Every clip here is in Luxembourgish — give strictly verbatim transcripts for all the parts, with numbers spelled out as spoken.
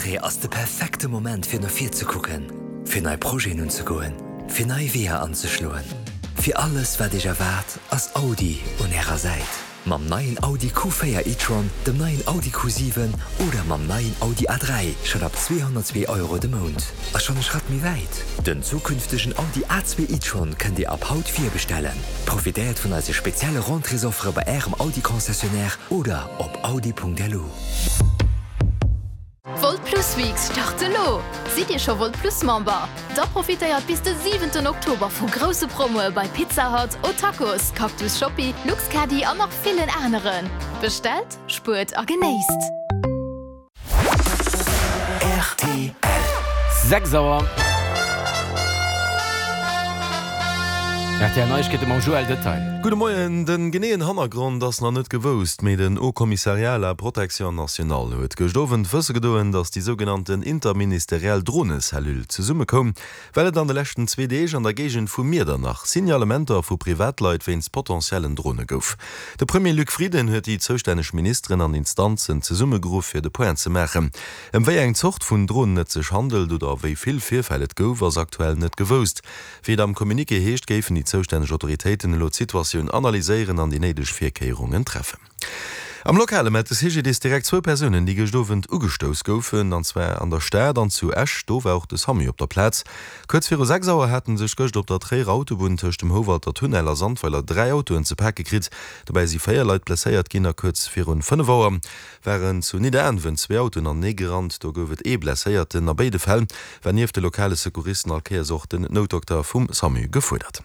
Rentrée ass de perfekte Moment fir no vir ze kucken, fir nei Projeten unzegoen, fir nei Weeër anzeschloen. Fir alles wat iech erwaart, ass Audi un ärer Säit. Mam neien Audi Q véier e-tron, dem neien Audi Q siwen oder mam neien Audi A dräi schonn ab zweehonnertzwee Euro de Mount. A schonn e Schratt méi wäit. Den zukünftegen Audi A zwee e-tron kënnt Dir ab haut virbestellen. Profitéiert vun eise spezielle Rentréesoffere bei Ärem Audi Concessionnaire oder op audi Punkt L U. Volt Plus Weeks start elo! Sidd Dir scho Volt Plus Member? Da profitéiert bis de siwenten Oktober vu grousse Promoe bei Pizza Hut, O'Tacos, Cactus Shopee, Luxcaddy an nach villen aneren. Bestellt, spuert a genéisst! R T L. Sechs Auer. R T L Neiegkeete mam Joël Detail. Gudde Moien, Den geneeën Hannergrond ass nach net gewousst, mee den Haut Commissariat à la Protection nationale huet gëscht Owend wësse gedoen, datt déi sougenannten interministeriell Dronecellule zesummekoum, well et an de leschten zwee Deeg an der Géigend vu Miedernach Signalementer vu Privatleit wéinst potentiellen Drone gouf. De Premier Luc Frieden huet déi zoustänneg Ministeren an Instanzen zesummegeruff fir de Point ze maachen. Ëm wéi eng Zort vun Dronen et sech handelt oder wéi vill Virfäll et gouf, ass aktuell net gewousst. Wéi et am Communiqué heescht, géifen déi zoustänneg Autoritéiten elo d'Situatioun analyséieren an déi néideg Virkéierungen treffen. Am Lokale mellt de C G D I S direkt zwou Persounen, déi gëscht Owend ugestouss goufen, an zwar an der Stad an zu Esch. Do war och de SAMU op der Plaz. Kuerz viru sechs Auer hate sech gëscht op der Tréierer Autobunn tëscht dem Houwalter Tunnel a Sandweiler dräi Autoen ze pake kritt. Dobäi si véier Leit blesséiert ginn a kuerz virun fënnef Auer waren zu Nidderaanwen zwee Autoen anenee gerannt. Do gouf et ee Blesséierten. A béide Fäll war nieft de lokale Secouristen all Kéiers och den Noutdokter vum SAMU gefuerdert.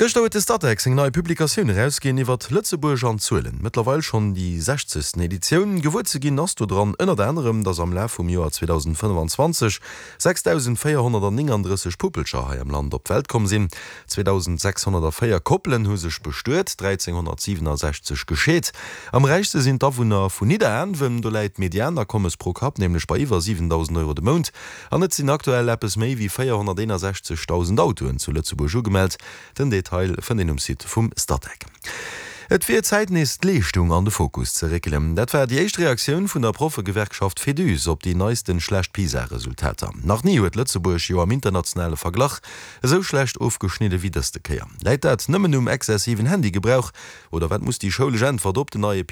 Gëschter huet de Statec seng nei Publikatioun erausginn iwwert Lëtzebuerg an Zuelen. Mëttlerweil schonn déi sechzegsten Editioun. Gewuer ze ginn ass do dran ënnert anerem, datt am Laf vum Joer zweedausendfënnefanzwanzeg sechsdausendvéierhonnertnienunddrësseg Puppelcher hei am Land op d'Welt komm sinn. zweedausendsechshonnertvéier Koppelen hu sech bestuet, dräizénghonnertsiwenasechzeg gescheet. Am räichste sinn d'Awunner vun Nidderaanwen, do läit d'Medianakommes pro Kapp nämlech bei iwwer siwendausend Euro de Mount. An et sinn aktuell eppes méi wéi véierhonnerteenasechzegdausend Autoen zu Lëtzebuerg ugemellt. Den Detail fënnt een um Site vum Statec. Et wier Zäit nees d'Leeschtung an de Fokus ze réckelen. Dat war déi éischt Reaktioun vun der Proffegewerkschaft Féduse op déi neisten schlecht PISA-Resultater. Nach ni huet Lëtzebuerg jo am internationale Verglach esou schlecht ofgeschnidde wéi dëste Kéier. Läit dat nëmmen um exzessiven Handygebrauch oder wat muss déi schoulesch Äntwert op den neie